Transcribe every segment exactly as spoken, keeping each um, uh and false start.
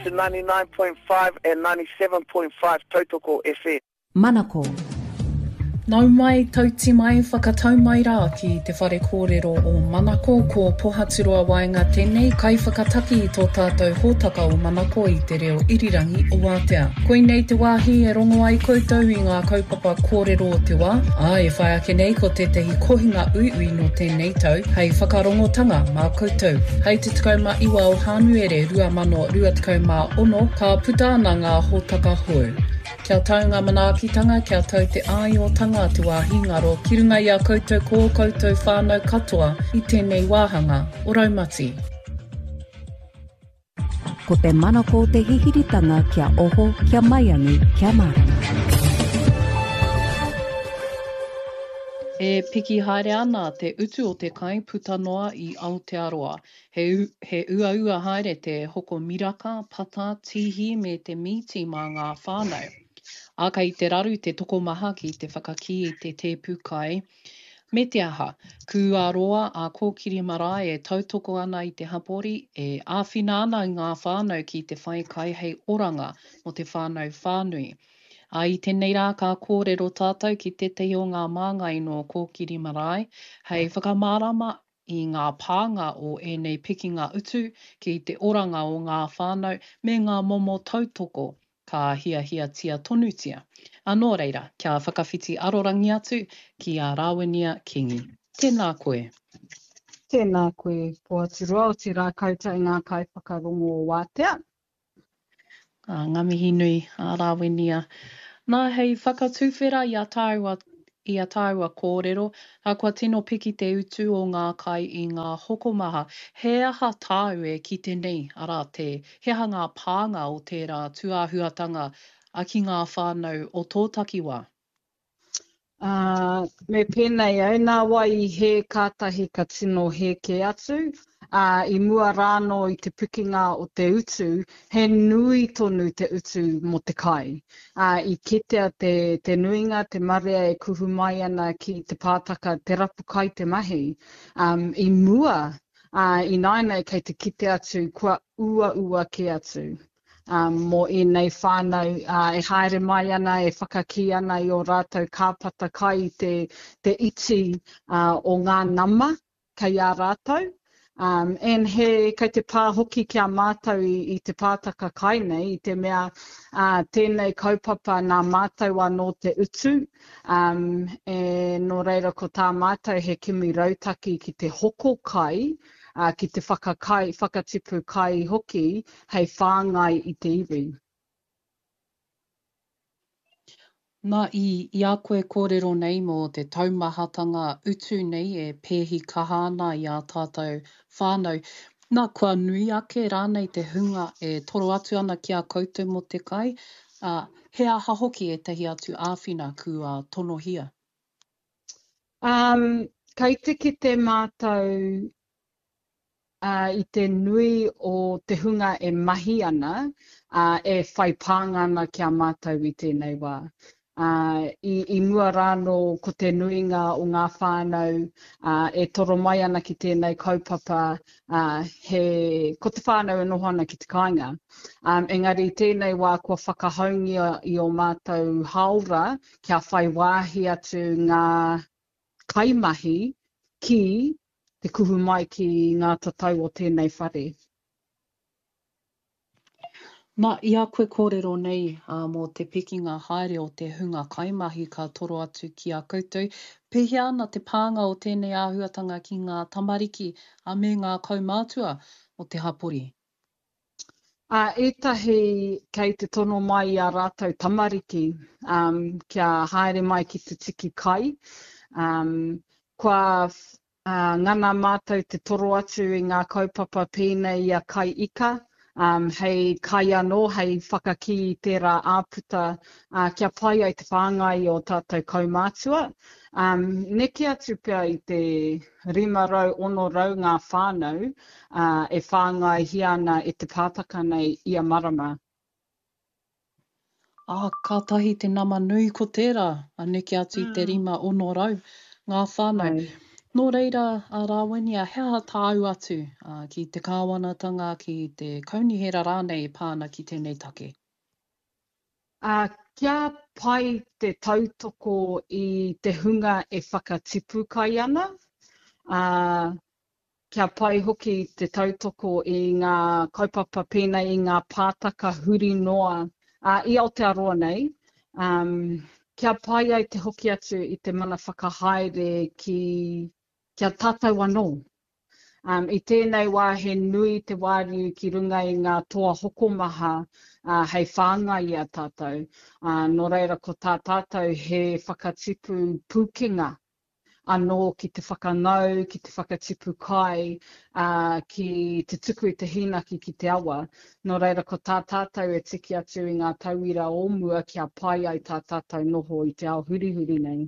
To ninety-nine point five and ninety-seven point five Tautoko F M. Manako. Nau mai, tauti mai, whakatau mai rā ki te whare kōrero o Manako, ko Pohaturoa Waenga tēnei, kaiwhakataki i tō tātou hōtaka o Manako i te reo irirangi o Wātea. Koinei te wāhi e rongo ai koutou i ngā kaupapa kōrero o te wā, ā, e whai ake nei ko tētahi kohinga uiui nō tēnei tau hei whakarongotanga mā koutou. Hei te tekau mā iwa o Hānuere rua mano rua tekau mā ono, ka puta ana ngā hōtaka hou. Kia tau ngā manaakitanga, kia tau te āiotanga te wāhi ngaro ki runga i a koutou ko koutou whānau katoa i tēnei wāhanga o Raumati. Ko te manako te hihiritanga kia oho, kia maiangi, kia mārama. E piki haere ana te utu o te kai puta noa i Aotearoa. He u-, he uaua haere te hoko miraka, pata, tīhi me te mīti mā ngā whānau. Ā, kei te raru te tokomaha ki te whakakī i te tēpu kai. Me te aha, kua roa a Kōkiri Marae e tautoko ana i te hapori, e āwhina ana i ngā whānau ki te whai kai hei oranga mō te whānau whānui. Ā, i tēnei rā ka kōrero tātou ki tētahi o ngā māngai nō Kōkiri Marae, hei whakamārama i ngā pānga o ēnei pikinga utu ki te oranga o ngā whānau me ngā momo tautoko ka hiahiatia tonutia. Anō reira, kia whakawhiti arorangi atu ki a Rāwinia Kingi. Tēnā koe. Tēnā koe, Pohaturoa, o te rā koutou ngā kaiwhakarongo o Wātea. Ā, ngā mihi nui, a Rāwinia. Nā, hei whakatūwhera i a tāua, i a tāua kōrero, ā, kua tino piki te utu o ngā kai i ngā hokomaha. He aha tāu e kite nei, arā te, he aha ngā pānga o tērā tūāhuatanga a ki ngā whānau o tō takiwā? Ā, me pēnei au, nā wai i hē kātahi ka tino hē kē atu. Ā, i mua rānō i te pikinga o te utu, he nui tonu te utu mō te kai. Ā, i kitea te, te nuinga, te marea e kuhu mai ana ki te pātaka, te rapu kai te mahi. Um, i mua, ā, i nāianei kei te kite atu, kua uaua kē atu. Um, mō ēnei whānau, ā, e haere mai ana, e whakakī ana i ō rātou kāpata kai i te, te iti, ā, o ngā nama kei a rātou. Um, and he, kei te pā hoki ki a mātou i, i te pātaka kai nei, i te mea, ā, tēnei kaupapa nā mātou anō te utu, um, e, nō reira ko tā mātou he kimi rautaki ki te hoko kai, ā, ki te whakakai, whakatipu kai hoki hei whāngai i te iwi. Nā, i, i a koe kōrero nei mō te taumahatanga utu nei e pēhi kaha ana i a tātou whānau. Nā, kua nui ake rānei te hunga e toro atu ana ki a koutou mō te kai, ā, he aha hoki ētahi atu āwhina kua tonohia? Um, kei te kite mātou, ā, i te nui o te hunga e mahi ana, ā, e whai pānga ana ki a mātou i tēnei wā. Ā, i, i mua rānō ko te nuinga o ngā whānau, ā, e toro mai ana ki tēnei kaupapa, ā, he, ko te whānau e noho ana ki te kāinga. Um, engari tēnei wā kua whakahaungia i o mātou haora kia whai wāhi atu ngā kaimahi ki te kuhu mai ki ngā tatau o tēnei whare. Nā, i a koe kōrero nei, ā, mō te pikinga haere o te hunga kaimahi ka toro atu ki a koutou, pēhea ana te pānga o tēnei āhuatanga ki ngā tamariki, ā, me ngā kaumātua o te hapori? Ā, ētahi kei te tono mai i a rātou tamariki, um, kia haere mai ki te tiki kai. Um, kua ā, ngana mātou te toro atu i ngā kaupapa pēnei i a kai ika, um, hei kai anō, hei whakakī i tērā āputa, ā, kia pai ai te whāngai o tātou kaumātua. Um, neke atu pea i te rima rau, ono rau ngā whānau, ā, e whāngaihia ana e te pātaka nei ia marama. Ā, kātahi te nama nui ko tērā, a neke atu i te Mm. rima ono rau ngā whānau. Ai. Nō reira, a Rāwinia, he aha tāu atu ki te kāwanatanga, ki te kaunihera rānei e pā ana ki tēnei take? Ā, kia pai te tautoko i te hunga e whakatipu kai ana, ā, kia pai hoki te tautoko i ngā kaupapa pēnei i ngā pātaka huri noa, ā, i Aotearoa nei, ā, kia pai ai te hoki atu i te mana whakahaere ki, ki a tātou anō. Um, I tēnei wā he nui te wāriu ki runga i ngā toa hokomaha uh, hei whāngai i a tātou. Uh, nō reira ko tā tātou he whakatipu pūkenga anō ki te whakangau, ki te whakatipu kai, ā, ki te tuku i te hīnaki ki te awa. Nō reira ko tā tātou e tiki atu i ngā tauira o mua kia pai ai tā tātou noho i te ao hurihuri nei.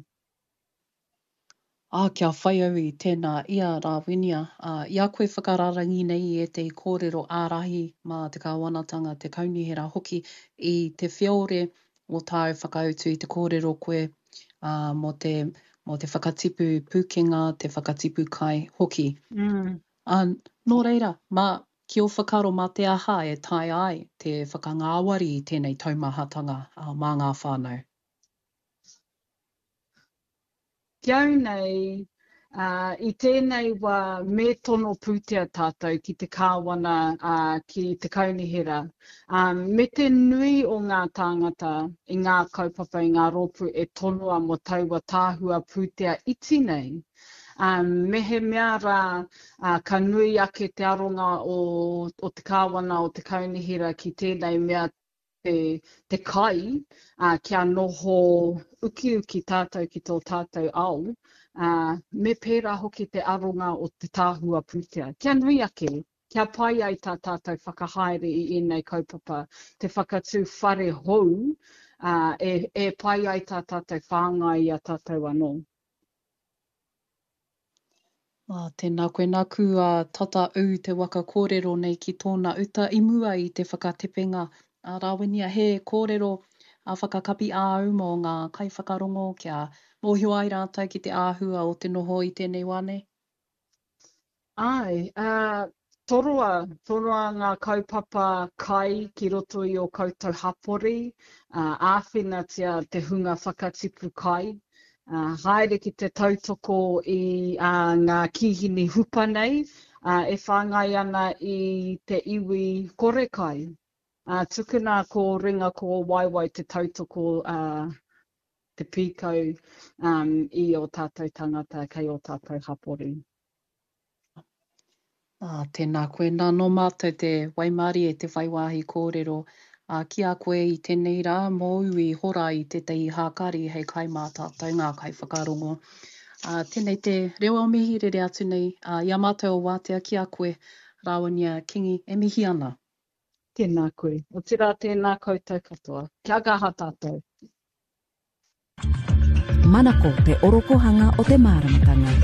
Ā, kia whai au i tēnā i a Rāwinia, ā, i a koe whakararangi nei i ētehi kōrero ārahi mā te kāwanatanga, te kaunihera hoki, i te whiore o tāu whakautu i te kōrero koe, ā, mō te, mō te whakatipu pūkenga, te whakatipu kai hoki. Mm. Ā, nō reira, mā, ki ō whakaaro mā te aha e taea ai te whakangāwari i tēnei taumahatanga, ā, mā ngā whānau? Ki au nei, ā, i tēnei wā me tono pūtea tātou ki te kāwana, ā, ki te kaunihera, ā, me te nui o ngā tāngata i ngā kaupapa, i ngā rōpū e tonoa mō taua tahua pūtea iti nei. Ā, mehemea rā, ā, ka nui ake te aronga o, o te kāwana, o te kaunihera ki tēnei mea te, te kai, ā, kia noho ukiuki tātou ki tō tātou ao, ā, me pērā hoki te aronga o te tahua pūtea. Kia nui ake, kia pai ai tā tātou whakahaere i ēnei kaupapa, te whakatū whare hou, ā, e, e pai ai tā tātou whāngai i a tātou anō. Ā, tēnā koe, nāku a tata ū te waka kōrero nei ki tōna uta i mua i te whakatepenga. Ā, Rāwinia, he kōrero a whakakapi āu mō ngā kaiwhakarongo kia mōhio ai rātou ki te āhua o te noho i tēnei wā nei? Āe, ā, toroa, toroa ngā kaupapa kai ki roto i ō koutou hapori, ā, āwhinatia te hunga whakatipu kai, ā, haere ki te tautoko i ā, ngā kīhini hupa nei, ā, e whāngai ana i te iwi kore kai. Ā, tukuna ko ringa ko waewae te tautoko, ā, te pīkau, um, i ō tātou tangata kei ō tātou hapori. Ā, tēnā koe. Nā, nō mātou te waimarie te whai wāhi kōrero, ā, ki a koe i tēnei rā, mōu i hora i tētahi hākari hei kai mā tātou ngā kaiwhakarongo. Ā, tēnei te reo o mihi rere atu nei, ā, i a mātou o Wātea ki a koe, Rāwinia Kingi, e mihi ana. Tēnā koe. Otirā tēnā koutou katoa. Kia kaha tātou. Manako te orokohanga o te māramatanga.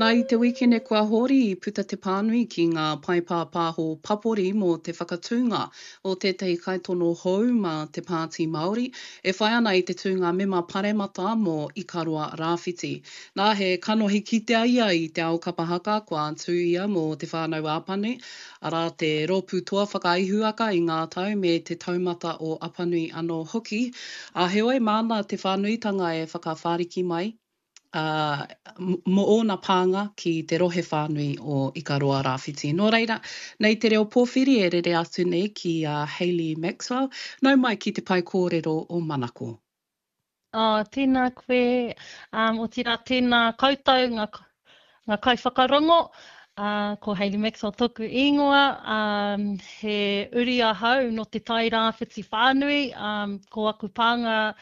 Nā, i te wīkene kua hori i puta te pānui ki ngā pae pāpāho papori mō te whakatūnga o tētahi kaitono hou mā te Pāti Māori e whai ana i te tūnga mema paremata mō Ikaroa Rāwhiti. Nā, he kanohi kitea ia i te ao kapa haka kua tū ia mō Te Whānau Apanui, arā te rōpū toa whakaihuwaka i ngā tau me te taumata o Apanui anō hoki, ā, heoi māna te whānuitanga e whakawhāriki mai, ā, mō ōna pānga ki te rohe whānui o Ikaroa Rāwhiti. Nō reira, nei te reo pōwhiri e rere atu nei ki a Hayley Maxwell, nau mai ki te pae kōrero o Manako. Oh, tēnā koe, um, otirā tēnā koutou ngā, ngā kaiwhakarongo, uh, ko Hayley Maxwell tōku ingoa, um, he uri ahau nō te Tai Rāwhiti whānui, um, ko aku pānga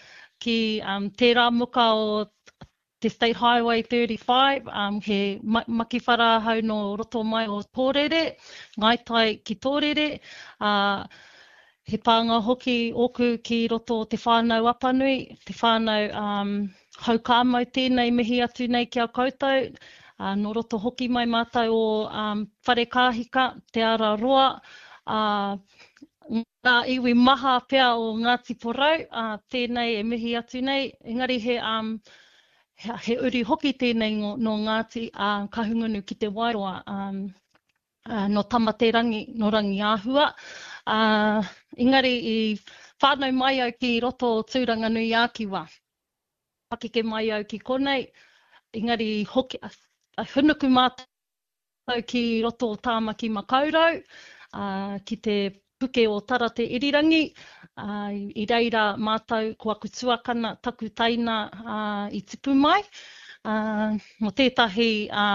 ki um, tērā muka o te State Highway thirty-five, um, he makiwhara ahau nō roto mai o Tōrere, Ngāi Tai ki Tōrere, uh, he pānga hoki ōku ki roto o Te Whānau Apanui, te whānau um, Houkāmau tēnei mihi atu nei ki a koutou, uh, nō roto hoki mai mātou o um, Wharekāhika, Te Ara Roa, uh, ngā iwi maha pea o Ngāti Porou, ā, tēnei e mihi atu nei, engari he, um, he, he uri hoki tēnei nō Ngāti ā, Kahungunu ki Te Wairoa, um, ā, nō Tamaterangi, nō Rangiāhua. Ā, engari i whānau mai au ki roto o Tūranganui-ā-Kiwa. Pakeke mai au ki konei, engari i hoki, hunuku mātou ki roto o Tāmaki Makaurau, ā, ki te puke o Tara Te Irirangi, ā, i reira mātou ko aku tuakana, taku teina, ā, i tipu mai, ā, mō tētahi, ā,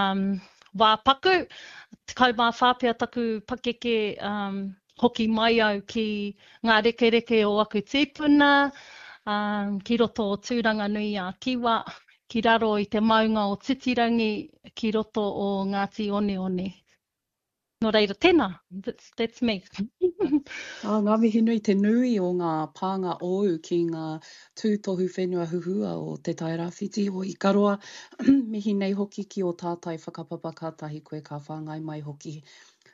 wā paku, tekau mā whā pea taku pakeke, ā, hoki mai au ki ngā rekereke o aku tīpuna, ā, ki roto o Tūranganui-ā-Kiwa, ki raro i te maunga o Titirangi, ki roto o Ngāti Oneone. Nō reira, tēnā, that's, that's me. Ā, ngā mihi nui, te nui o ngā pānga ōu ki ngā tūtohu whenua huhua o Te Tairāwhiti, o Ikaroa, mihi nei hoki ki ō tātai whakapapa kātahi koe ka whāngai mai hoki.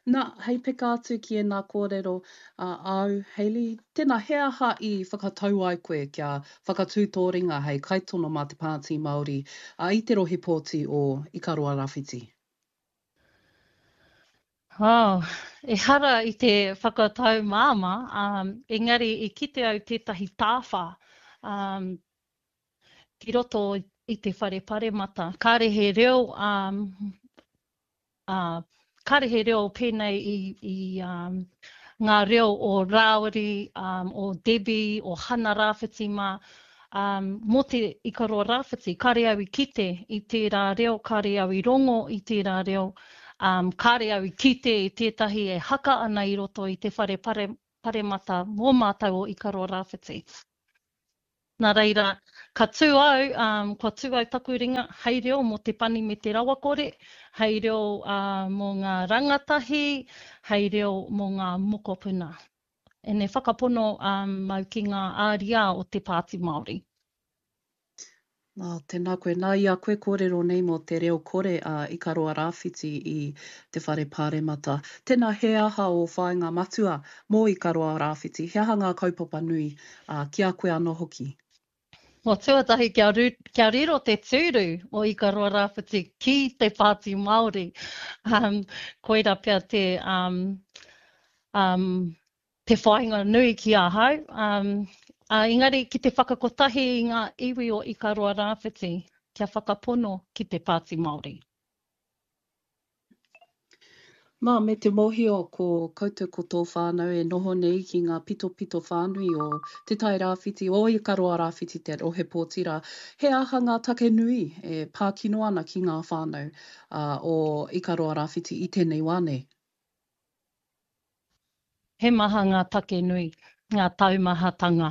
Na, hei peka atu ki ēnā kōrero a āu, Hayley, tēnā, he aha i whakatau ai koe kia whakatū tō ringa hei kaitono mā te Pāti Māori i te rohe pōti o Ikaroa Rawhiti? Oh, ehara i te whakatau māmā, um, engari i kite au tētahi tāwhā um, ki roto i te whare paremata. Kāre he reo um, ā, kāre he reo pēnei i, i um, ngā reo o Rāwiri, um, o Debbie, o Hana Rāwhiti mā, um, mō te Ikaroa Rāwhiti, kāre au i kite i tērā reo, kāre au i rongo i tērā reo, um, kāre au i kite i tētahi e haka ana i roto i te whare pare, paremata mō mātou o Ikaroa Rāwhiti. Nā reira, ka tū au, um, kua tū au taku ringa hei reo mō te pani me te rawakore, hei reo uh, mō ngā rangatahi, hei reo mō ngā mokopuna. Ene whakapono um, mau ki ngā āriā o te Pāti Māori. Nā, tēnā koe. Nā, i a koe kōrero nei mō te reo kore a Ikaroa Rāwhiti i te Whare Pāremata. Tēnā, he aha ō whāinga matua mō Ikaroa Rāwhiti? He aha ngā kaupapa nui, ā, ki a koe anō hoki? Well, tuatahi kia, ru, kia riro te tūru o Ikaroa Rāwhiti ki te Pāti Māori. Um, koira pea te, um, um, te whāinga nui ki ahau. Um, uh, engari ki te whakakotahi i ngā iwi o Ikaroa Rāwhiti kia whakapono ki te Pāti Māori. Nā, me te mōhio ko koutou ko tō whānau e noho nei ki ngā pitopito whānui o Te Tai Rāwhiti, o Ikaroa Rāwhiti te rohe pōti rā, he aha ngā take nui e pā kino ana ki ngā whānau o Ikaroa Rāwhiti i tēnei wā nei? He maha ngā take nui, ngā taumahatanga.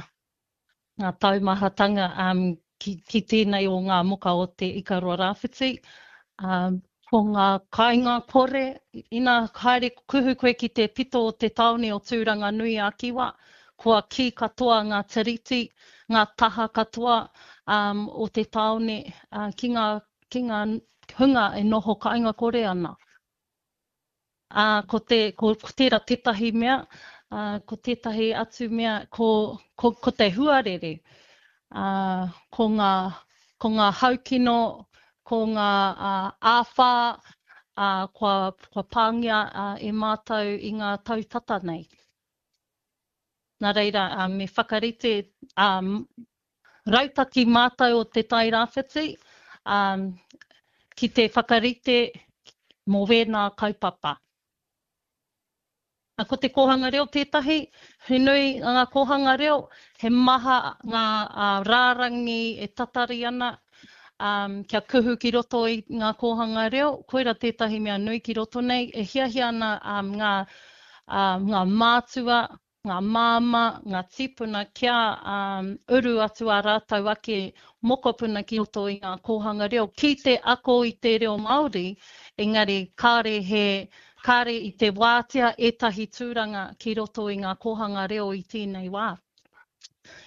Ngā taumahatanga um, ki, ki tēnei o ngā moka o te Ikaroa Rāwhiti. Um, ko ngā kāinga kore, ina haere kuhu koe ki te pito o te tāone o Tūranganui-a-Kiwa, kua kī katoa ngā tiriti, ngā taha katoa um, o te tāone uh, ki ngā, ki ngā hunga e noho kāinga kore ana. Ā, ko te, ko, ko tērā tētahi mea, ā, ko tētahi atu mea, ko, ko, ko te huarere, ā, ko ngā, ko ngā haukino, ko ngā ā, āwhā, ā, kua, kua pāngia ā, e mātou i ngā tau tata nei. Nā reira, ā, me whakarite, ā, rautaki mātou o Te Tai Rāwhiti, ā, ki te whakarite mō wēnā kaupapa. Ko te kōhanga reo tētahi, he nui ngā kōhanga reo, he maha ngā rārangi e tatari ana kia kuhu ki roto i ngā kōhanga reo, koira tētahi mea nui ki roto nei, e hiahia ana ngā, ngā mātua, ngā māmā, ngā tīpuna kia um, uru atu ā rātou ake mokopuna ki roto i ngā kōhanga reo ki te ako i te reo Māori, engari kāre he, kāre i te wātea ētahi tūranga ki roto i ngā kōhanga reo i tēnei wā.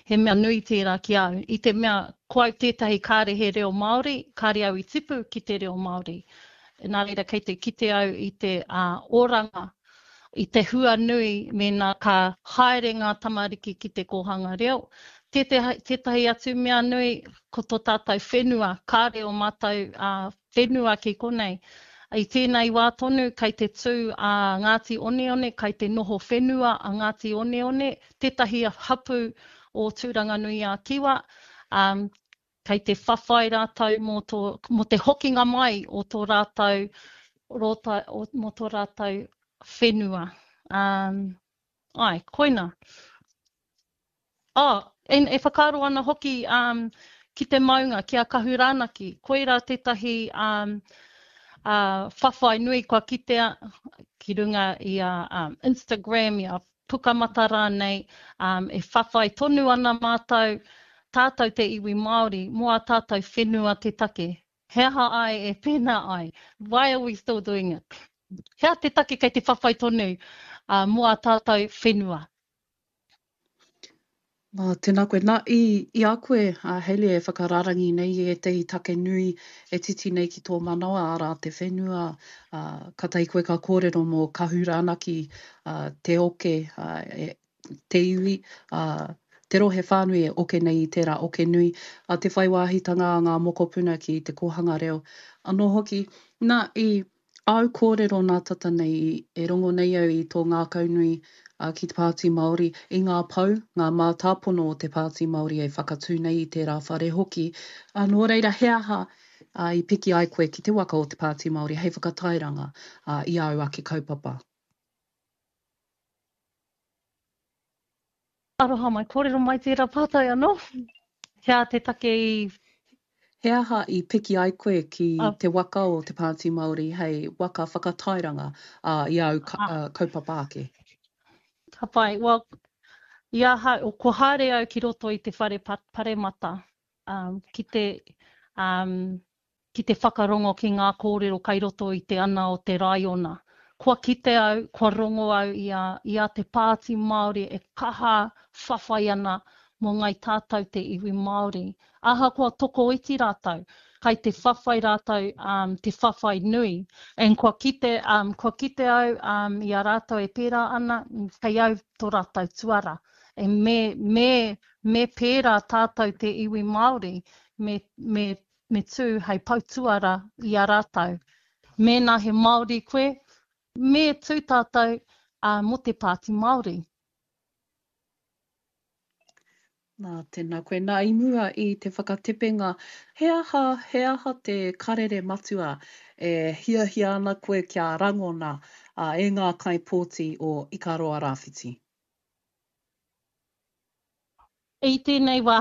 He mea nui tērā ki au, i te mea ko au tētahi kāre he reo Māori, kāre au i tipu ki te reo Māori. Nā reira kei te kite au i te uh, oranga i te hua nui mēnā ka haere ngā tamariki ki te kōhanga reo. Tētahi, tētahi atu mea nui, ko tō tātou whenua, kāre o mātou uh, whenua ki konei. I tēnei wā tonu, kei te tū a Ngāti Oneone, kei te noho whenua a Ngāti Oneone, tētahi hapū o Tūranganui-a-Kiwa, um, kei te whawhai rātou mō, tō, mō te hokinga mai o tō rātou, rota, o, mō tō rātou whenua. Um, ai, koina. Oh, e, e whakaaro ana hoki um, ki te maunga, ki a Kahuranaki. Koirā tētahi um, uh, whawhai nui kua kitea ki runga i a um, Instagram, i a Pukamata rānei, um, e whawhai tonu ana mātou, tātou te iwi Māori, mō a tātou whenua te take. He aha ai e pēnā ai? Why are we still doing it? He aha te take kei te whawhai tonu uh, mō a tātou whenua? Nā, tēnā koe. Nā, i, i a koe, a Hayley, e whakarārangi nei i ētahi take nui e titi nei ki tō manawa, arā, te whenua, ā, kātahi koe ka kōrero mō Kahuranaki, ā, te oke, ā, e, te iwi, ā, te rohe whānui e oke nei i tērā oke nui, ā, te whai wāhitanga a ngā mokopuna ki te kōhanga reo anō hoki. Nā, i āu kōrero nā tata nei, e rongo nei au i tō ngākaunui ki te Pāti Māori, i ngā pou, ngā mātāpono o te Pāti Māori e whakatū nei i tērā whare hoki. Ā, nō reira, he aha i piki ai koe ki te waka o te Pāti Māori hei whakatairanga i āu ake kaupapa? Aroha mai, kōrero mai tērā pātai anō. He aha te take i... He aha i piki ai koe ki te waka o te Pāti Māori hei waka whakatairanga i āu kaupapa ake? Ka pai. Well, i ahau, kua haere au ki roto i te whare paremata, um, ki te, um, ki te whakarongo ki ngā kōrero kai roto i te ana o te raiona. Kua kite au, kua rongo au i a, i a te Pāti Māori e kaha whawhai ana mō ngai tātou te iwi Māori. Ahakoa tokoiti rātou, kai te whawhai rātou um, te whawhai nui. And kua kite, um, kua kite au um, i a rātou e pērā ana, kei au tō rātou tuara. E me, me, me pērā tātou te iwi Māori, me, me, me tū hei poutuara i a rātou. Mēnā he Māori koe, me tū tātou uh, mō te Pāti Māori. Nā, tēnā koe. Nā, i mua i te whakatepenga, he aha, he aha te karere matua e hiahia ana koe kia rangona uh, e ngā kaipōti o Ikaroa Rāwhiti? I tēnei wā,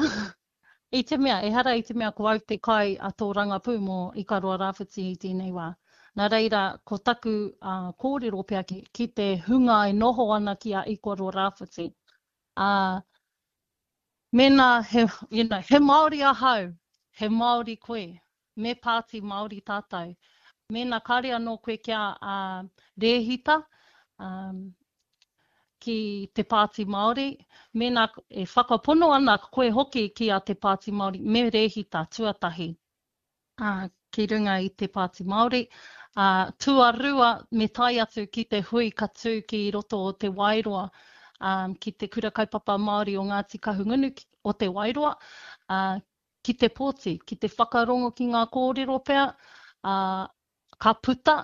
i te mea, ehara i te mea ko au te kai a tō rangapū mō Ikaroa Rāwhiti i tēnei wā. Nā reira, ko taku uh, kōrero pea ki, ki te hunga e noho ana ki a Ikaroa Rāwhiti. Uh, mēnā he, you know, he Māori ahau, he Māori koe, me pāti Māori tātou. Mēnā kāre anō koe kia uh, rēhita um, ki te Pāti Māori, mēnā e whakapono ana koe hoki ki a te Pāti Māori, me rēhita tuatahi uh, ki runga i te Pāti Māori. Uh, tuarua, me tae atu ki te hui ka tū ki roto o Te Wairoa, um, ki te Kura Kaupapa Māori o Ngāti Kahungunu o Te Wairoa, uh, ki te pōti, ki te whakarongo ki ngā kōrero pea, uh, ka puta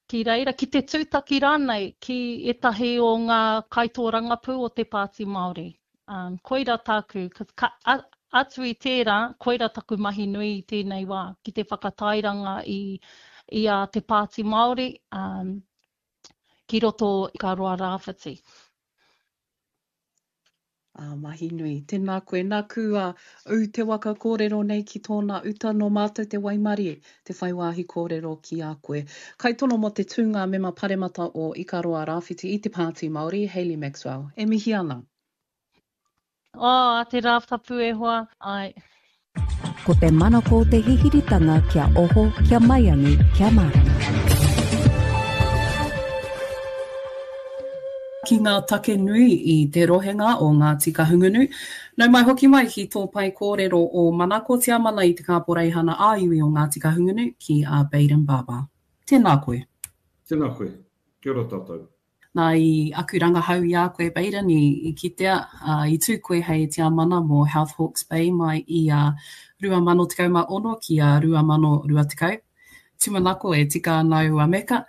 ki reira, ki te tūtaki rānei ki ētahi o ngā kaitōrangapū o te Pāti Māori. Um, koira tāku, ka, a, atu i tērā, koira taku mahi nui i tēnei wā, ki te whakatairanga i, i a te Pāti Māori um, ki roto i Ikaroa Rāwhiti. Ā, mahi nui. Tēnā koe. Nāku a ū te waka kōrero nei ki tōna uta nō mātou te waimarie, te whai wāhi kōrero ki a koe. Kaitono mō te tūnga mema paremata o Ikaroa Rāwhiti i te Pāti Māori, Hayley Maxwell. E mihi ana. Oh, a te Rātapu e hoa, ai. Ko te manako o te hihiritanga kia oho, kia maiangi, kia mārama. Ki ngā take nui i te rohenga o Ngāti Kahungunu. Nau mai hoki mai ki tō pae kōrero o Manako Tiamana i te Kāporeihana ā-iwi o Ngāti Kahungunu ki a Bayden Barber. Tēnā koe. Tēnā koe. Kia ora tātou. Nā, i aku rangahau i a koe, Baden, i, i kitea, uh, i tū koe hei tiamana mō Health Hawke's Bay mai i a rua mano tekau mā ono ki a rua mano rua tekau. Tūmanako e tika ana aua meka.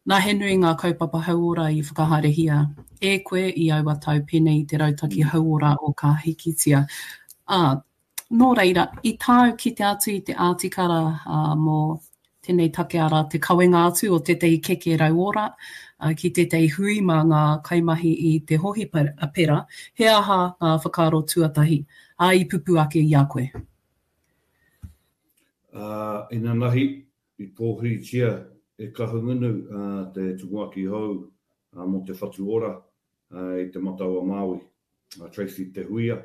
Nā, he nui ngā kaupapa hauora i whakahaerehia e koe i aua tau pēnei i te rautaki hauora o Ka Hikitia. Ā, nō reira, i tāu kite atu i te ātikara uh, mō tēnei take arā te kawenga atu o tētahi keke rauora uh, ki tētahi hui mā ngā kaimahi i te hohipera, he aha ngā whakaaro tuatahi ā, i pupu ake i a koe? Uh, inanahi, i pōhiritia e Kahungunu uh, te tumuaki hou uh, mō te Whatu Ora uh, i te Matau a Māui, uh, Tracy Te Huia.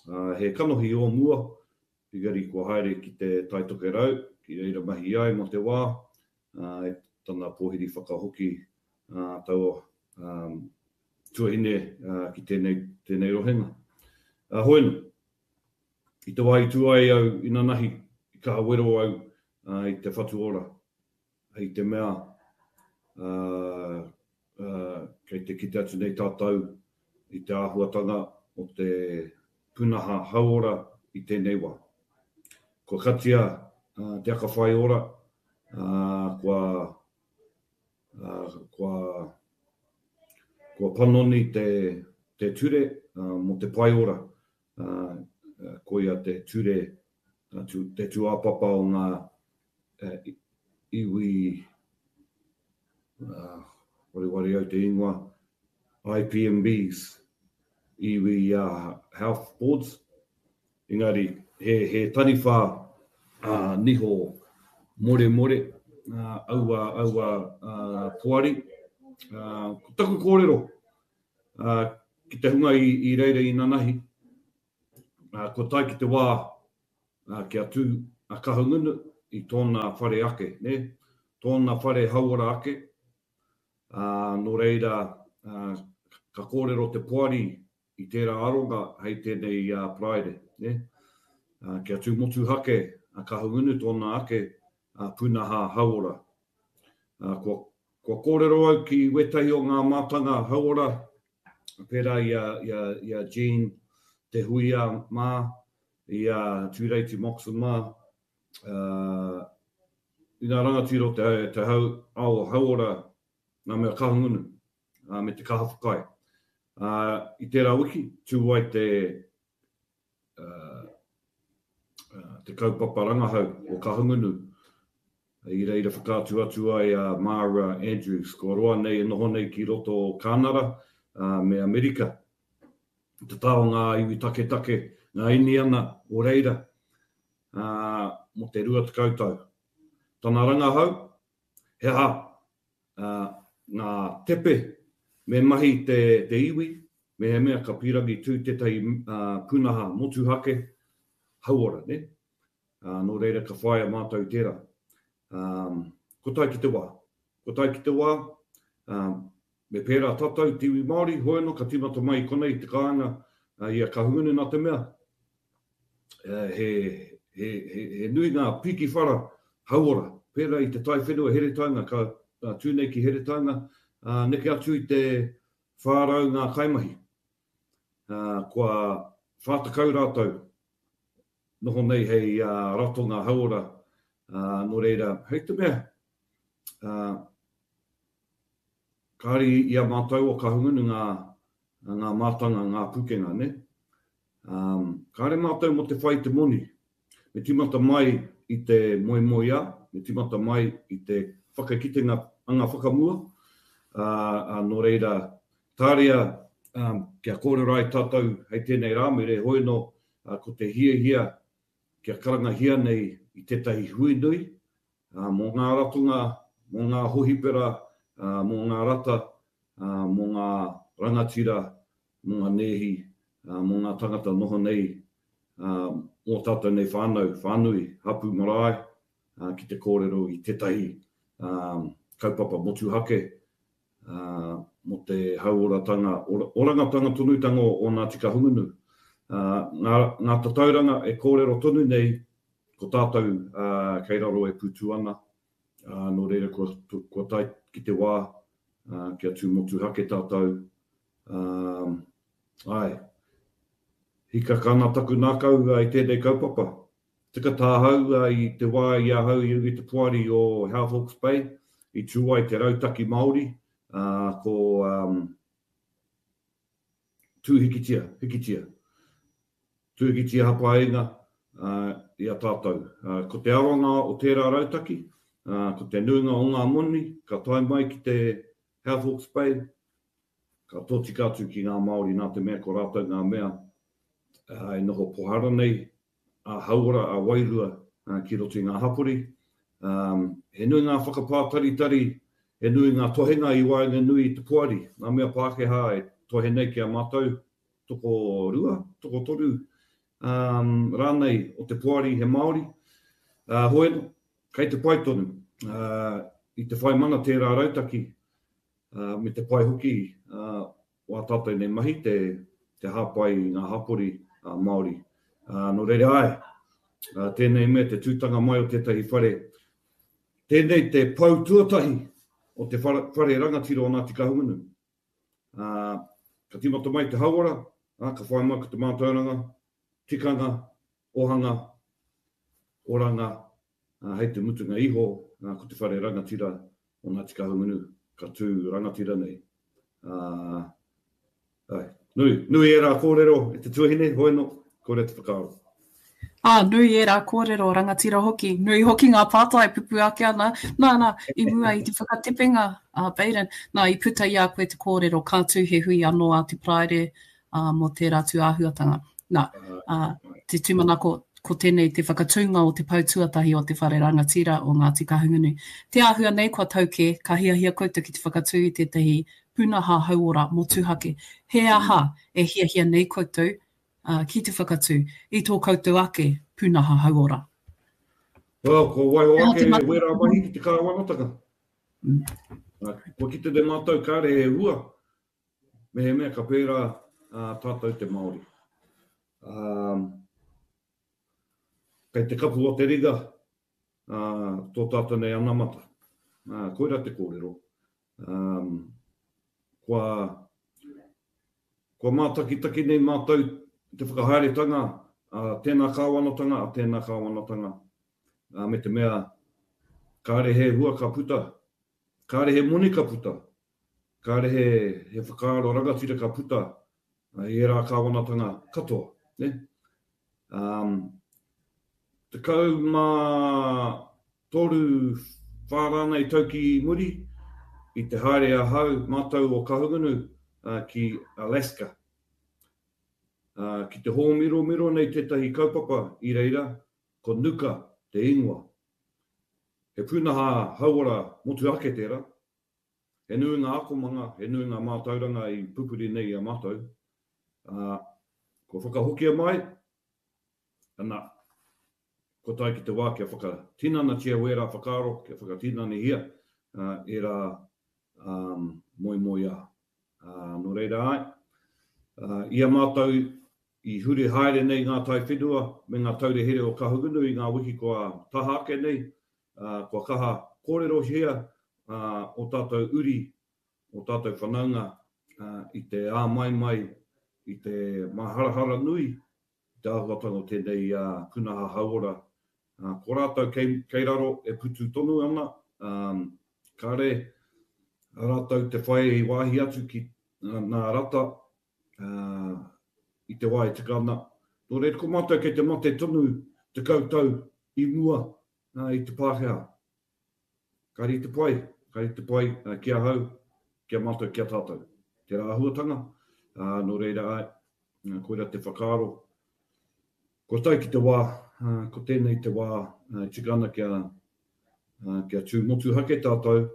Uh, he kanohi o mua, engari kua haere ki te Tai Tokerau, ki reira mahi ai mō te wā, uh, e tana pōhiri whakahoki uh, taua um, tuahine uh, ki tēnei, tēnei rohenga. Uh, hoeno, i te wā i tū ai au inanahi, i kaha wero au uh, i te Whatu Ora, hei te mea uh, uh, kei te kite atu nei tātou i te āhuatanga o te pūnaha hauora i tēnei wā. Kua katia uh, te aka whai ora, uh, kua, uh, kua, kua panoni te, te ture uh, mō te pae ora. Uh, koia te ture, uh, tu, te tūāpapa o ngā uh, iwi, uh, wareware au te ingoa, I P M Bs, iwi uh, health boards, engari he, he taniwha uh, niho more more, uh, aua, aua uh, poari. Uh, ko taku kōrero uh, ki te hunga i, i reira i nanahi, uh, ko tae ki te wā uh, kia tū a Kahungunu i tōna whare ake, ne? Tōna whare hauora ake. Uh, nō reira, uh, ka kōrero te poari i tērā aronga hei tēnei uh, Paraire, ne? Uh, kia tū motuhake a Kahungunu tōna ake uh, pūnaha hauora. Uh, kua, kua kōrero au ki wētahi o ngā mātanga hauora, pērā i a, i a, i a Jean Te Huia mā, i a Tūreiti Moxon mā, uh, i ngā rangatira o te, te hau, ao hauora ngā mea Kahungunu, uh, me te kaha whakaae. Uh, i tērā wiki, tū ai te, uh, uh, te kaupapa rangahau o Kahungunu. I reira whakaatu atu ai a Mara Andrews, kua roa nei e noho nei ki roto o Kānara uh, me Amerika. Te tā o ngā iwi taketake, ngā Iniana o reira, uh, mō te rua tekau tau. Tana rangahau, he aha uh, ngā tepe me mahi te, te iwi, me he mea ka pīrangi tū tētahi uh, pūnaha motuhake hauora, ne? Uh, nō reira ka whaia mātou tērā. Um, ko tae ki te wā. Ko tae ki te wā, um, me pērā tātou te iwi Māori, hoeno ka tīmata mai i konei te kāinga uh, i a Kahungunu nā te mea. Uh, he, he, he, he nui ngā piki whara hauora. Pērā i te taiwhenua Heretaunga, ka uh, tū nei ki Heretaunga, uh, neke atu i te whārau ngā kaimahi. Uh, kua whātakau rātou noho nei hei uh, ratonga hauora. Uh, nō reira, hei te mea, uh, kāre i a mātou o Kahungunu ngā, ngā mātanga, ngā pūkenga, ne? Um, kāre mātou mō te whai te moni. Me tīmata mai i te moemoeā, me tīmata mai i te whakakitenga anga whakamua. Uh, uh, nō reira, tāria um, kia kōrero ai tātou hei tēnei rā, me re hoeno uh, ko te hiahia kia karangahia nei i tētahi hui nui, uh, mō ngā ratonga, mō ngā hohipera, uh, mō ngā rata, uh, mō ngā rangatira, mō ngā nēhi, uh, mō ngā tangata noho nei, uh, mō tātou nei whānau, whānui, hapu marae, uh, ki te kōrero i tētahi um, kaupapa motuhake, uh, mō te hauoratanga, ora, orangatanga tonutanga o, o Ngāti Kahungunu. Uh, ngā, ngā tatauranga e kōrero tonu nei, ko tātou uh, kei raro e pūtu ana, uh, nō reira kua, kua tae ki te wā, uh, kia tū motuhake tātou. Um, ai, hikaka ana taku ngākau uh, i tēnei kaupapa. Tika tāhau uh, i te wā i ahau i runga i te poari o Health Hawke's Bay, i tū ai te rautaki Māori, uh, ko um, Tū Hikitia, Hikitia. Tū Hikitia Hapainga uh, i a tātou. Uh, ko te aronga o tērā rautaki, uh, ko te nuinga o ngā moni, ka tae mai ki te Health Hawke's Bay, ka tōtika atu ki ngā Māori nā te mea ko rātou ngā mea uh, e noho pohara nei, a hauora, a wairua uh, ki roto i ngā hapori. Um, he nui ngā whakapātaritari, he nui ngā tohenga i waenganui i te poari, ngā mea Pākehā e tohe nei ki a mātou, toko rua, toko toru um, rānei o te poari he Māori. Uh, hoi, kei te pai tonu, uh, i te whai mana tērā rautaki, uh, me te pai hoki uh, o a tātou nei mahi, te, te hāpai i ngā hapori uh, Māori. Uh, nō reira ai, uh, tēnei mea te tūtanga mai o tētahi whare. Tēnei te pou tuatahi o te whare, whare rangatira o Ngāti Kahungunu. Uh, ka tīmata mai te hauora, uh, ka whai mai ko te mātauranga, tikanga, ohanga, oranga, uh, hei te mutunga iho, uh, ko te whare rangatira o Ngāti Kahungunu, ka tū rangatira nei. Uh, ai, nui, nui ērā kōrero e te tuahine, hoeno, kore te whakaaro. Ā, nui ērā kōrero, rangatira hoki. Nui hoki ngā pātai pupu ake ana. Nā, nā, i mua i te whakatepenga a Baden, nā, i puta i a koe te kōrero, ka tū he hui anō a te Paraire uh, mō tērā tū āhuatanga. Nā, uh, te tūmanako, ko tēnei te whakatūnga o te pou tuatahi o te whare rangatira o Ngāti Kahungunu. Te āhua nei kua tau kē, ka hiahia koutou ki te whakatū i tētahi pūnaha hauora motuhake. He aha e hiahia nei koutou uh, ki te whakatū i tō koutou ake pūnaha hauora? Well, ko waiho He aha te ake mahi? wērā mahi ki te kāwanatanga. Mm. Uh, kua kite te mātou kāre he hua, me he mea ka pērā uh, tātou te Māori. Um, kei te kapu o te ringa uh, tō tātou nei anamata. Uh, koira te kōrero. Um, kua, kua mātakitaki nei mātou te whakahaeretanga a tēnā kāwanatanga, a tēnā kāwanatanga, uh, me te mea kāre he hua ka puta, kāre he moni ka puta, kāre he, he whakaaro rangatira ka puta uh, i ērā kāwanatanga katoa. Ne? Um, tekau mā toru whā rānei tau ki muri, i te haere ahau mātou o Kahungunu uh, ki Alaska. Uh, ki te hōmiromiro nei tētahi kaupapa i reira, ko Nuka te ingoa. He pūnaha hauora motuhake tērā. He nui ngā akomanga, he nui ngā mātauranga i pupuri nei i a mātou. Uh, kua whakahokia mai, ana, ko tae ki te wā kia whakatinanatia wērā whakaaro, kia whakatinanihia uh, ērā um, moemoeā. Uh, nō reira ai, uh, i a mātou i huri haere nei ngā tai whenua me ngā taure here o Kahungunu i ngā wiki kua taha ake nei, uh, kua kaha kōrerohia uh, o tātou uri, o tātou whanaunga uh, i te āmaimai, i te maharahara nui, i te āhuatanga o tēnei uh, pūnaha hauora. Uh, ko rātou kei, kei raro e putu tonu ana, um, kāre rātou te whai i wāhi atu ki uh, nā rata uh, i te wā e tika ana. Nō reira, ko mātou kei te mate tonu te kautau i mua uh, i te Pākehā. Kāre i te pai, kāre i te pai uh, ki ahau, ki a mātou, ki a tātou. Tērā āhuatanga, uh, nō reira ai, uh, koira te whakaaro. Ko tae ki te wā, uh, ko tēnei te wā uh, tika ana kia, uh, kia tū motuhake tātou.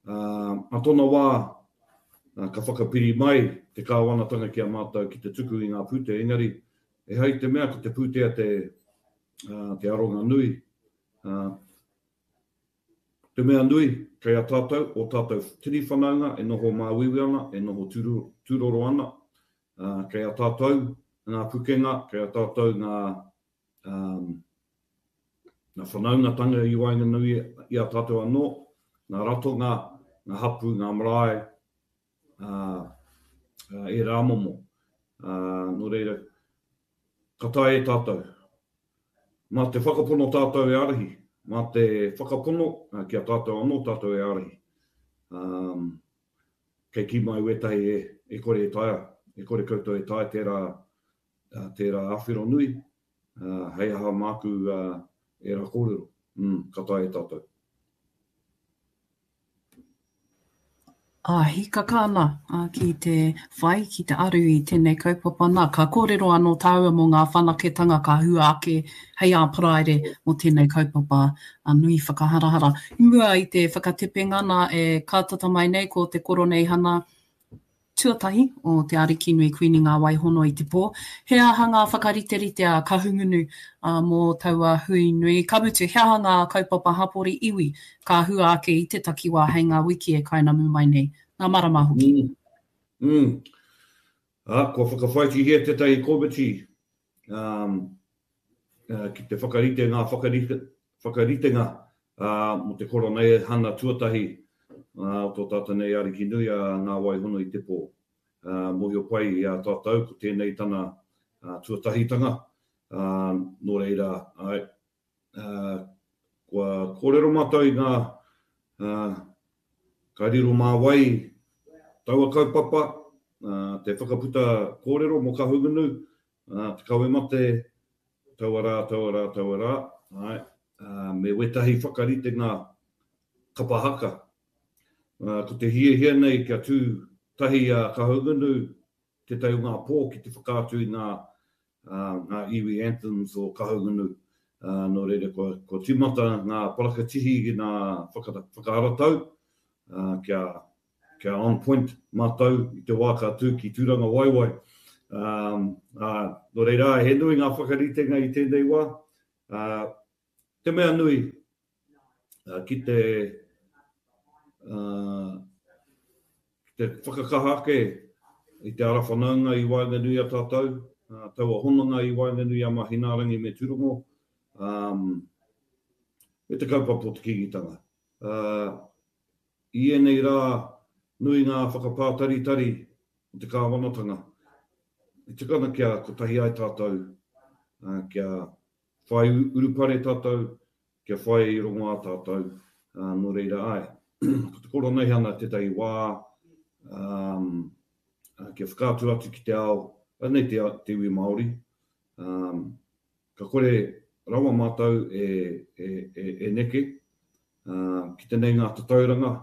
Uh, a tōna wā, uh, ka whakapiri mai te kāwanatanga ki a mātou ki te tuku i ngā pūtea, engari e hai te mea ko te pūtea te, uh, te aronga nui. Uh, te mea nui kei a tātou, o tātou tini whanaunga e noho māuiui ana, e noho tūro, tūroro ana, uh, kei a tātou ngā pukenga, kei a tātou ngā, um, ngā whanaungatanga i waenganui i a tātou anō, ngā ratonga, ngā hapū, ngā marae, ā, ērā momo. Ā, nō reira, ka taea e tātou. Mā te whakapono tātou e ārahi, mā te whakapono ki a tātou anō tātou e ārahi. Ā, kei kī mai wētahi e, e kore e taea, e kore koutou e taea tērā, tērā āwhero nui, ā, hei aha māku ērā kōrero. Mm, ka taea e tātou. Ā, hīkaka ana ki te whai, ki te aru i tēnei kaupapa nā. Ka kōrero anō tāua mō ngā whanaketanga ka hua ake hei ā Paraire mō tēnei kaupapa nui whakaharahara. I mua i te whakatepenga nā e kātata mai nei ko te Koroneihana tuatahi o Te Arikinui Kuini Ngā Waihono i te pō. He aha ngā whakariterite a Kahungunu mō taua hui nui? Ka mutu, he aha ngā kaupapa hapori iwi ka hua ake i te takiwā hei ngā wiki e kainamu mai nei, ngā marama hoki? Mm. Mm. Ā, kua whakawhāitihia tētahi komiti um, uh, ki te whakarite ngā whakarite, whakaritenga uh, mō te koroneihana tuatahi uh, o tō tātou nei Ariki nui a Ngā Waihono i te pō. Uh, mōhio pai i a tātou, ko tēnei tana uh, tuatahitanga, uh, nō reira, ai, uh, kua kōrero mātou i ngā uh, ka riro mā wai taua kaupapa, uh, te whakaputa kōrero mō Kahungunu, uh, te kawe mate, taua rā, taua rā, taua rā, ai, uh, me wētahi whakaritenga kapa haka. Uh, ko te hiahia nei kia tū tahi a Kahungunu tētahi o ngā pō ki te whakaatu i ngā, uh, ngā iwi anthems o Kahungunu. Uh, nō reira, kua, kua tīmata ngā parakatihi ki ngā whaka, whakaharatau, uh, kia, kia on point mātou i te wā ka tū ki Tūrangawaewae. Um, uh, nō reira, he nui ngā whakaritenga i tēnei wā. Uh, te mea nui, uh, ki te Uh, ki te whakakaha ake i te ara whanaunga i waenganui a tātou, uh, taua hononga i waenganui a Mahinaarangi me Tūrongo, um, me te kaupapa o te Kīngitanga. Uh, i ēnei rā, nui ngā whakapātaritari o te kāwanatanga. I tika ana kia kotahi ai tātou, uh, kia whai urupare tātou, kia whai rongoā tātou, uh, nō reira ai. Ko te koroneihana tētahi wā, um, kia whakaatu atu ki te ao, anei te, te iwi Māori, um, ka kore rawa mātou e, e, e, e neke, uh, ki te nei ngā tatauranga,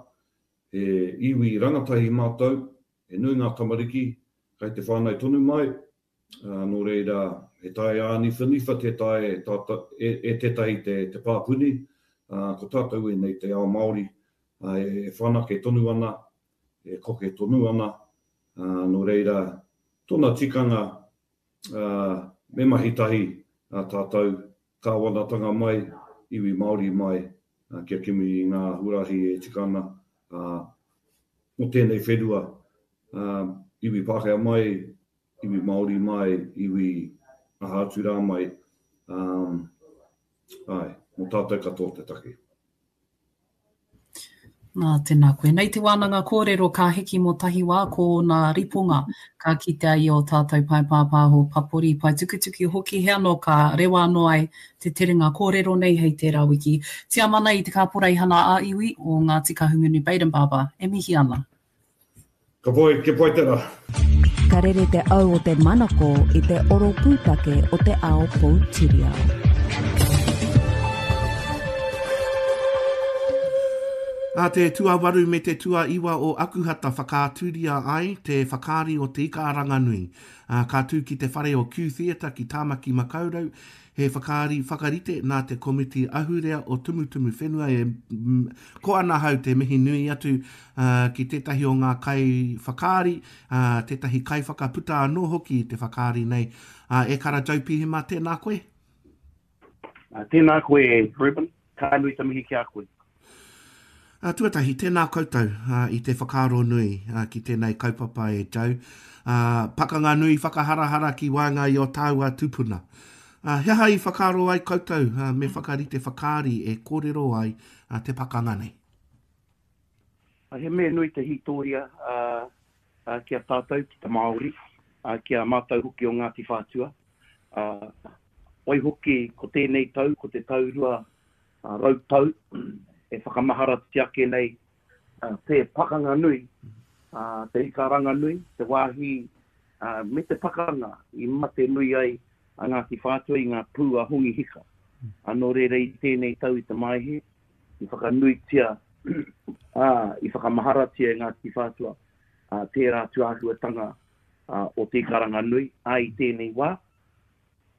he iwi rangatahi mātou, he nui ngā tamariki, kai te whānau tonu mai, uh, nō reira, he tae āniwhaniwha te tae e, tata, e, e tētahi te, te pāpuni, uh, ko tātou e nei te ao Māori, e whanake tonu ana, e koke tonu ana, uh, nō reira, tōna tikanga uh, me mahi tahi uh, tātou kāwanatanga mai, iwi Māori mai, uh, kia kimi i ngā huarahi e tika ana uh, mō tēnei whenua, uh, iwi Pākehā mai, iwi Māori mai, iwi aha atu rā mai, um, ai, mō tātou katoa te take. Nā, tēnā koe. Nei te wānanga kōrero ka hiki mō tahi wā ko nā riponga ka kitea i o tātou pae pāpāho papori, pae tukutuki hoki he anō ka rewa anō ai te terenga kōrero nei hei tērā wiki. Tiamana i te kāporeihana ā-iwi o Ngāti Kahungunu Bayden Barber e mihi ana. Ka pai, kia pai tērā. Ka rere te au o te manako i te oro pūtake o te ao poutiriao. A te tuawaru me te tuaiwa o Akuhata whakaaturia ai te whakaari o te Ika a Ranganui. A, ka tū ki te whare o Q Theatre ki Tāmaki Makaurau, he whakaari whakarite nā te komiti ahurea o Tumutumu Whenua e mm, ko ana hau te mihi nui atu uh, ki tētahi o ngā kai whakaari, uh, tētahi kai whakaputa anō hoki i te whakaari nei. Uh, e kara Joe Pihima, tēnā koe? Uh, tēnā koe, Ruben. Ka nui te mihi ki a koe. Uh, tuatahi, tēnā koutou uh, i te whakaaro nui uh, ki tēnei kaupapa e Joe. Uh, pakanga nui whakaharahara ki waenga i o tāua tūpuna. Uh, he aha i whakaaro ai koutou uh, me whakarite whakaari e kōrero ai uh, te pakanga nei? He mea nui te hītōria ki a tātou, ki te Māori, ki a mātou hoki o Ngāti Whātua. Waihoki, ko tēnei tau, ko te tau rua rau tau e whakamaharatia ake nei te pakanga nui, te ikaranga nui, te wāhi me te pakanga i mate nui ai a Ngāti Whātua i ngā pū a Hongi Hika. Nō reira i tēnei tau i te Maehe, i whakanuitia, ā, i whakamaharatia e Ngāti Whātua tērā tūāhuatanga o te ikaranga nui, ā, i tēnei wā,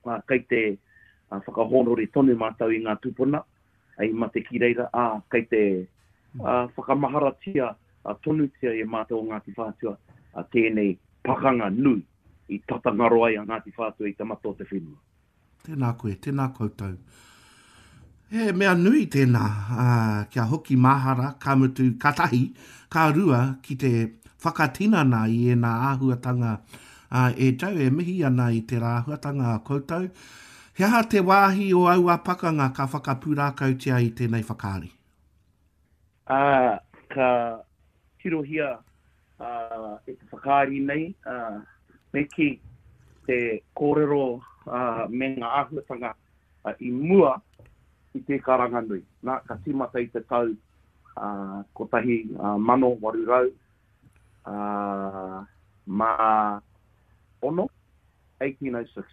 ā, kei te whakahōnore tonu mātou i ngā tūpuna i mate ki reira, ā, kei te whakamaharatia tonutia e mātou o Ngāti Whātua tēnei pakanga nui i tata ngaro ai a Ngāti Whātua i te mata o te whenua. Tēnā koe, tēnā koutou. He mea nui tēnā, ā, kia hoki mahara, ka mutu, ka tahi, ka rua, ki te whakatinana i ēnā āhuatanga, ā, e Joe, e mihi ana i tērā āhuatanga a koutou. He aha te wāhi o aua pakanga ka whakapūrākautia i tēnei whakaari? Ā, ka tirohia ā, e te whakaari nei, ā, me kī, te kōrero ā, me ngā āhuatanga i mua i te karanga nui. Nā, ka tīmata i te tau ā, kotahi mano waru rau ā, mā ono, eighteen oh six.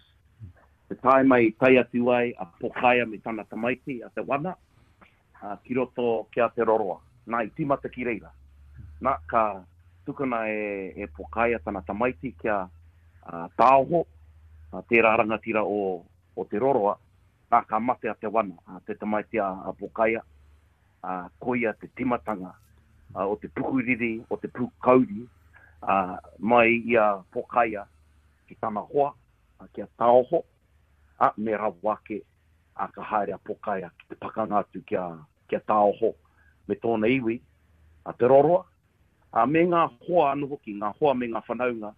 Te tāima i tae atu ai a Pokaia me tana tamaiti, a Te Wana, ā, ki roto ki a Te Roroa. Nā, i tīmata ki reira. Nā, ka tukuna e, e Pokaia tana tamaiti kia ā, Tāoho, ā, tērā rangatira o, o Te Roroa. Nā, ka mate a Te Wana, ā, te tamaiti a, a Pokaia, ā, koia te timatanga ā, o te pukuriri, o te pūkauri, ā, mai i a Pokaia ki tana hoa, ā, ki a Tāoho, ā, me rawa ake, ā, ka haere a Pokaia ki te pakanga atu ki a, ki a Tāoho me tōna iwi, a Te Roroa, ā, me ngā hoa anō hoki, ngā hoa me ngā whanaunga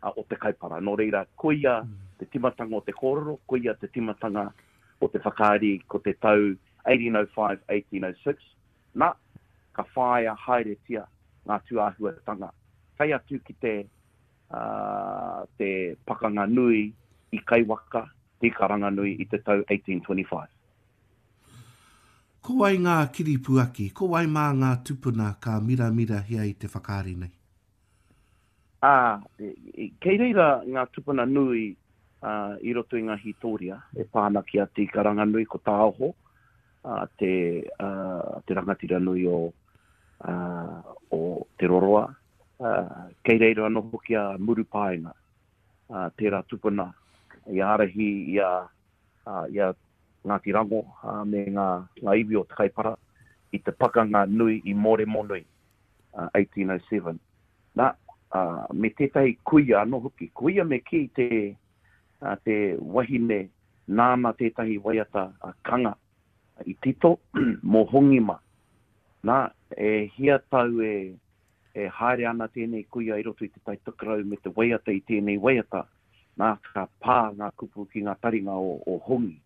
ā, o te Kaipara. Nō reira, koia te timatanga o te kōrero, koia te timatanga o te whakaari ko te tau eighteen oh five, eighteen oh six. Nā, ka whāia haeretia ngā tūāhuatanga. Tae atu ki te, uh, te pakanga nui i Kaiwaka, te ikaranga nui i te tau eighteen twenty-five. Ko wai ngā kiripuaki, ko wai mā ngā tupuna ka miramirahia i te whakaari nei? Ā, kei reira ngā tupuna nui uh, i roto i ngā hītōria e pā ana ki a Te Ikaranganui, ko Tāoho, uh, te, uh, te rangatira nui o, uh, o Te Roroa. Uh, kei reira anō hoki a Murupaenga, uh, tērā tupuna i ārahi i a, uh, i a Ngāti Rango uh, me ngā, ngā iwi o Te Kaipara i te pakanga nui i Mōremonui, uh, eighteen oh seven. Nā, uh, me tētahi kuia anō hoki. Kuia me kī te, uh, te wahine nāna tētahi waiata uh, kanga i tito mō Hongima. Nā, e hia tau e, e haere ana tēnei kuia i roto i te Tai Tokerau me te waiata i tēnei waiata. Nā, ka pā ngā kupu ki ngā taringa o, o Hongi.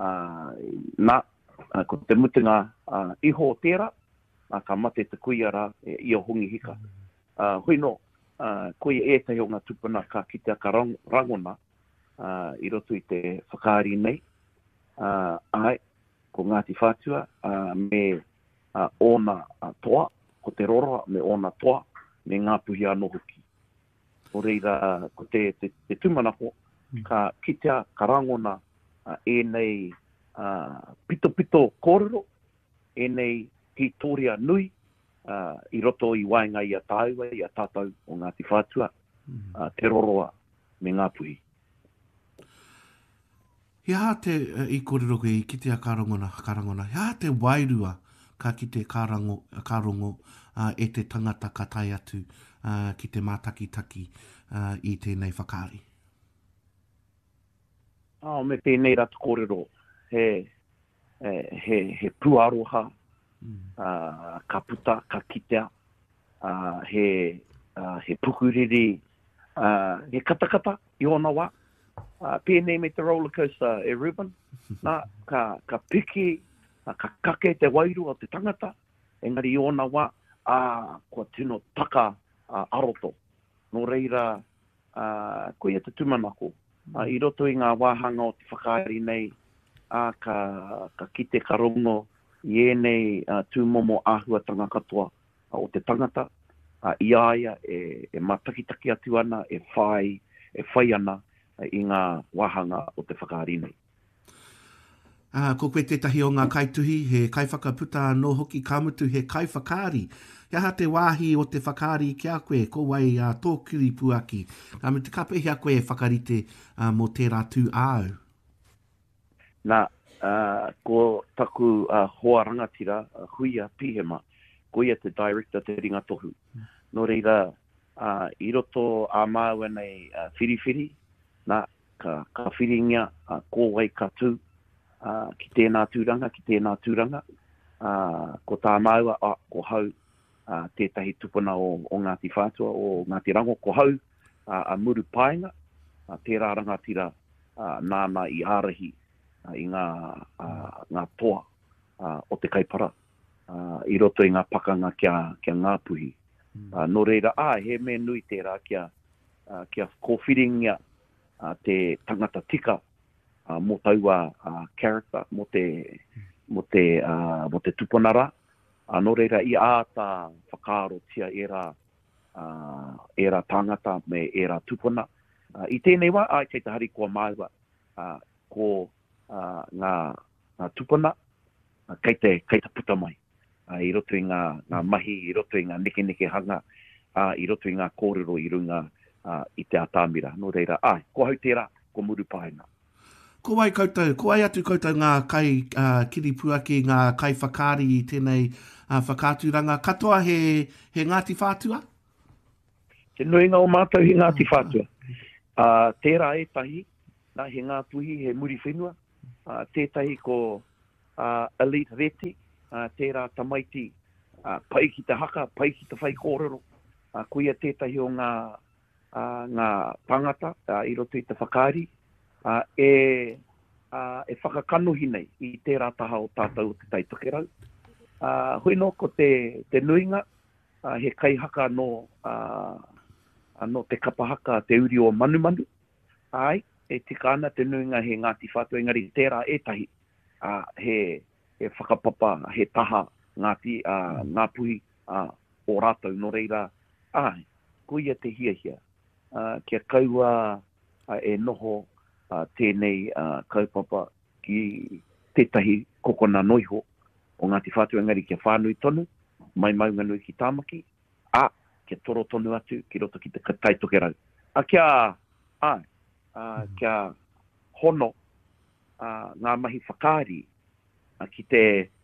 Uh, nā, uh, ko te mutunga uh, iho o tērā, nā, ka mate te kuia rā e, i o Hongi Hika. Uh, hui nō, uh, koia ētahi o ngā tupuna ka kitea ka rang, rangona uh, i roto i te whakaari nei. Uh, ai, ko Ngāti Whātua uh, me uh, ōna uh, toa, ko Te Roroa me ōna toa, me Ngāpuhi anō hoki. Nō reira, ko te, te, te tūmanako, ka kitea, ka rangona uh, ēnei uh, pitopito kōrero, ēnei hītōria nui uh, i roto i waenga i a tāua, i a tātou o Ngāti Whātua, uh, Te Roroa me Ngāpuhi. He aha te, i kōrero koe, i kitea ka rangona, ka rangona, he aha te wairua ka kite ka, rango, ka rongo uh, e te tangata ka tae atu uh, ki te mātakitaki uh, i tēnei whakaari? Oh, me tēnei rā te kōrero, he, he, he, he pūaroha, mm. uh, ka puta, ka kitea, uh, he, uh, he pukuriri, uh, he katakata i ōna wā. Uh, pēnei me te roller coaster e Ruben, nā, ka, ka piki, uh, ka kake te wairua o te tangata, engari i ōna wā, ā, kua tino taka a roto. Nō reira, ā, koia te tūmanako, ā, i roto i ngā wāhanga o te whakaari nei, ā, ka, ka kite, ka rongo i ēnei tūmomo āhuatanga katoa o te tangata, ā, i a ia e, e mātakitaki atu ana, e whai, e whai ana i ngā wāhanga o te whakaari nei. Ā, ko koe tētahi o ngā kaituhi, he kaiwhakaputa anō hoki, ka mutu he kaiwhakaari. He aha te wāhi o te whakaari ki a koe? Ko wai ā, tō kiripuaki? Ka mutu, ka pēhea koe e whakarite ā, mō tērā tū āu? Nā, ā, ko taku ā, hoa rangatira, a Huia Pihema, ko ia te director, te ringa tohu. Nō reira, ā, i roto ā māua nei ā, whiriwhiri, nā, ka, ka whiringia ā, ko wai ka tū, ā, ki tēnā tūranga, ki tēnā tūranga, ā, ko tā māua, ā, ko hau, ā, tētahi tupuna o, o Ngāti Whātua, o Ngāti Rango, ko hau, ā, a Murupaenga, ā, tērā rangatira, ā, nāna i ārahi, ā, i ngā, ā, ngā toa, ā, o te Kaipara, ā, i roto i ngā pakanga ki a, ki a Ngāpuhi. Ā, nō reira, āe, he mea nui tērā kia, ā, kia kōwhiringia, ā, te tangata tika, ā, mō taua ā, character, mō te, mō te, ā, mō te tupuna rā. Ā, nō reira, i āta whakaarotia ērā, ā, ērā tāngata me ērā tupuna. Ā, i tēnei wā, āe, kei te harikoa māua, ā, ko, ā, ngā, ngā tupuna, ā, kei te, kei te puta mai, ā, i roto i ngā, ngā mahi, i roto i ngā nekenekehanga, ā, i roto i ngā kōrero i runga, ā, i te atamira. Nō reira, āe, ko ahau tērā, ko Murupaenga. Ko wai koutou, ko wai atu koutou ngā kai ā, kiripuaki, ngā kaiwhakaari i tēnei ā, whakaaturanga? Katoa he, he Ngāti Whātua? Te nuinga o mātou he Ngāti Whātua. Ā, tērā ētahi, nā, he Ngāpuhi, he Muriwhenua, ā, tētahi ko ā, Elite Reti, ā, tērā tamaiti, ā, pai ki te haka, pai ki te whaikōrero, ā, koia tētahi o ngā, ā, ngā tāngata, ā, i roto i te whakaari, ā, e, ā, e whakakanohi nei i tērā taha o tātou o Te Tai Tokerau. Ā, hoi nō, ko te, te nuinga, ā, he kaihaka nō, ā, nō te kapa haka Te Uri o Manumanu, āe, e tika ana te nuinga he Ngāti Whātua, engari tērā ētahi, ā, he, he whakapapa, he taha Ngāti, ā, Ngāpuhi, ā, o rātou, nō reira, āe, koia te hiahia, ā, kia kaua e noho tēnei kaupapa ki tētahi kokona noiho o Ngāti Whātua, engari kia whānui tonu, mai Maunganui ki Tāmaki, ā, kia toro tonu atu ki roto ki te Tai Tokerau. Ā, kia, āe, ā, kia hono, ā, ngā mahi whakaari, ā, ki te,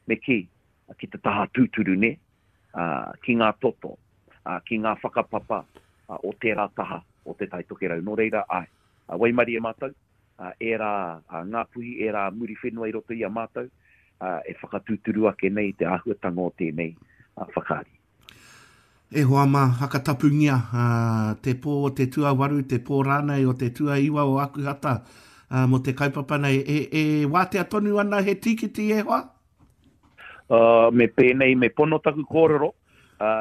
me kī, ki te taha tūturu, nē, ā, ki ngā toto, ā, ki ngā whakapapa, ā, o tērā taha o Te Tai Tokerau. Nō reira, āe, ā, waimarie mātou, ā, ērā, ā, Ngāpuhi, ērā Muriwhenua i roto i a mātou, ā, e whakatūturu ake nei i te āhuatanga o tēnei, ā, whakaari. E hoa mā, hakatapungia, ā, te pō o te tuawaru, te pō rānei o te tuaiwa o Akuhata, ā, mō te kaupapa nei. E, e wātea tonu ana he tīkiti, e hoa? Ā, me pēnei, me pono taku kōrero, ā,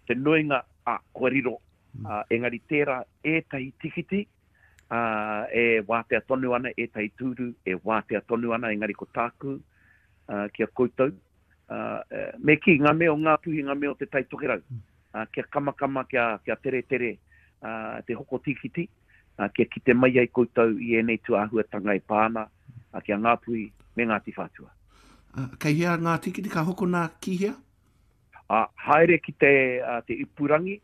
te nuinga, ā, kua riro, ā, engari tērā ētahi tīkiti, ā, e wātea tonu ana, ētahi tūru e wātea tonu ana, engari ko tāku, ā, ki a koutou, ā, me kī, ngā mea o Ngāpuhi, ngā mea o Te Tai Tokerau, ā, kia kamakama, kia, kia teretere, ā, te hoko tīkiti, ā, kia kite mai ai koutou i ēnei tūāhuatanga e pā ana, ā, ki a Ngāpuhi me Ngāti Whātua. Ā, kei hea ngā tīkiti ka hokona ki hea? Ā, haere ki te, ā, te ipurangi,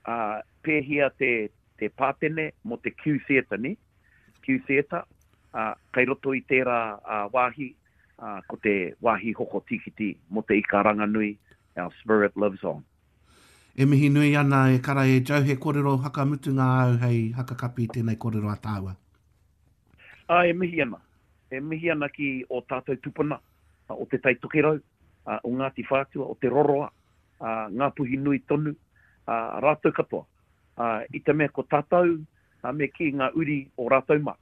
ā, pēhia te, te pātene mō te Q Theatre, nē? Q Theatre, ā, kei roto i tērā, ā, wāhi, ā, ko te wāhi hoko tīkiti mō te ika ranganui, Our Spirit Lives On. E mihi nui ana e kara e Joe, he kōrero whakamutunga āu hei hakakapi i tēnei kōrero a tāua. Ā, e mihi ana. E mihi ana ki ō tātou tupuna o Te Tai Tokerau, o Ngāti Whātua, o Te Roroa, ā, Ngāpuhi nui tonu, ā, rātou katoa. Ā, i te mea ko tātou, ā, me kī ngā uri o rātou mā,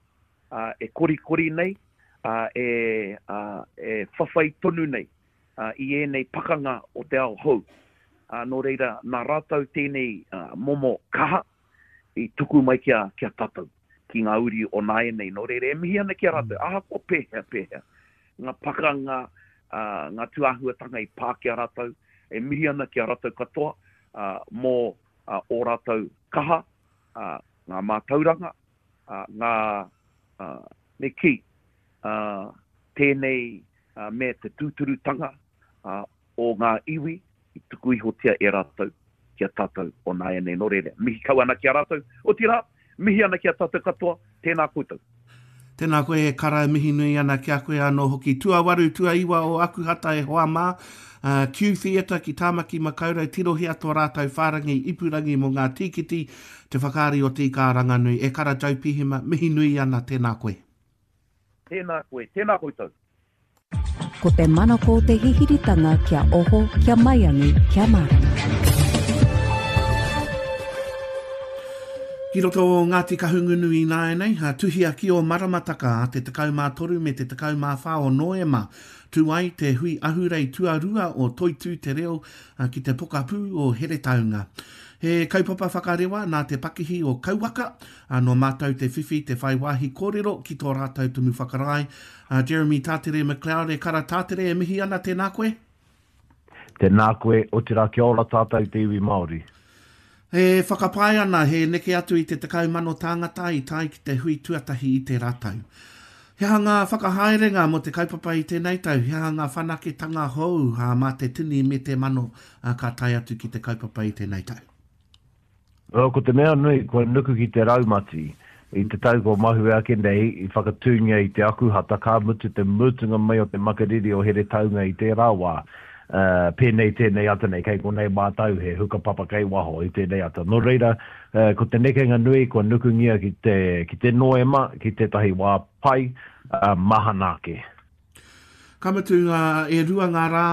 ā, e korikori nei, ā, e, ā, e whawhai tonu nei, ā, i ēnei pakanga o te ao hou. Ā, nō reira, nā rātou tēnei momo kaha i tuku mai ki a, ki a tātou, ki ngā uri o nāianei. Nō reira, e mihi ana ki a rātou, ahakoa pēhea, pēhea, ngā pakanga, ā, ngā tūāhuatanga i pā ki a rātou, e mihi ana ki a rātou katoa, ā, mō ō rātou kaha, ā, ngā mātauranga, ā, ngā, ā, me kī, ā, tēnei me te tūturutanga, ā, o ngā iwi i tuku ihotia e rātou ki a tātou o nāianei. Nō reira, mihi kau ana ki a rātou, otirā, mihi ana ki a tātou katoa, tēnā koutou. Tēnā koe e Kara, mihi nui ana ki a koe anō hoki. Tuawaru, tuaiwa o Akuhata e hoa mā, Q Theatre ki Tāmaki Makaurau, tirohia tō rātou whārangi ipurangi mō ngā tīkiti, te whakaari o Te Ika-a-Ranganui. E Kara Joe Pihema, mihi nui ana, tēnā koe. Tēnā koe, tēnā koutou. Ko te manako te hihiritanga kia oho, kia maiangi, kia mārama. Ki roto o Ngāti Kahungunu ināianei, tuhia ki ō maramataka a te tekau mā toru me te tekau mā whā o Noema, tū ai te hui ahurei tuarua o Toitū Te Reo ki te pokapū o Heretaunga. He kaupapa whakarewa nā te pakihi o Kauwaka, ā, nō mātou te whiwhi te whai wāhi kōrero ki tō rātou Tumu Whakarae, a Jeremy Tātere McLeod. E kara Tātere, e mihi ana, tēnā koe. Tēnā koe, otirā kia ora tātou te iwi Māori. E whakapae ana he neke atu i te tekau mano tāngata i tae ki te hui tuatahi i tērā tau. He aha ngā whakahaerenga mō te kaupapa i tēnei tau? He aha ngā whanaketanga hou mā te tini me te mano ka tae atu ki te kaupapa i tēnei tau? Well, ko te mea nui, kua nuku ki te raumati. I te tau kua mahue ake nei, i whakatūngia i te Akuhata, ka mutu te mutunga mai o te makariri o Heretaunga i tērā wā. Uh, pēnei tēnei ata nei, kei konei mātou, he hukapapa kei waho i tēnei ata. Nō reira, uh, ko te nekenga nui kua nukungia ki te, ki te Noema, ki tētahi wā pai, uh, mahana ake. Ka mutu, uh, e rua ngā rā